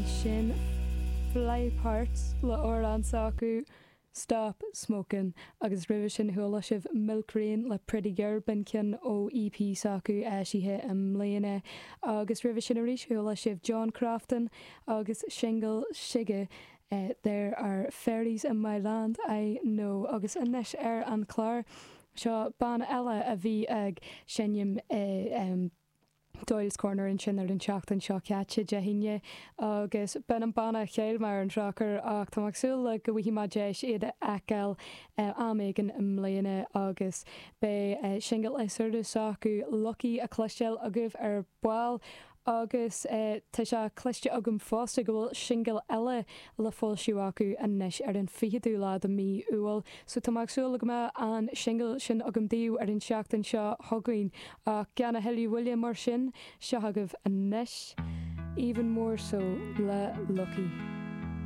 Sin Flyparts le amhrán s'acu, Stop Smokin', agus roimhe sin chuala sibh Milk Rain le Pretty Girl, b'in ceann ó EP s'acu eisithe i mbliana. Agus roimhe sin arís chuala sibh John Crofton agus singil s'aige There Are Fairies in My Land, I Know. Agus anois ar an chlár seo banna eile a bhí ag seinm i. Doyle's Corner ansin ar an tseachtain seo caite, Dé hAoine, agus b'in an banna a chaill mé ar an drochuair ach tá mé ag súil le go bhfaighidh mé deis iad a fheiceáil am éigin i mbliana agus beidh singil is úire s'acu, Lucky, a chloisteáil agaibh ar ball. Agus tá sé cloiste agam fosta go bhfuil singil eile le foilsiú acu anois ar an 20ú lá de mí Iúil. So tá mé ag súil le go mbeidh an singil sin agam daoibh ar an tseachtain seo chugainn. Ach gan a thuilleadh moille mar sin, seo agaibh anois Even More So le Lucky.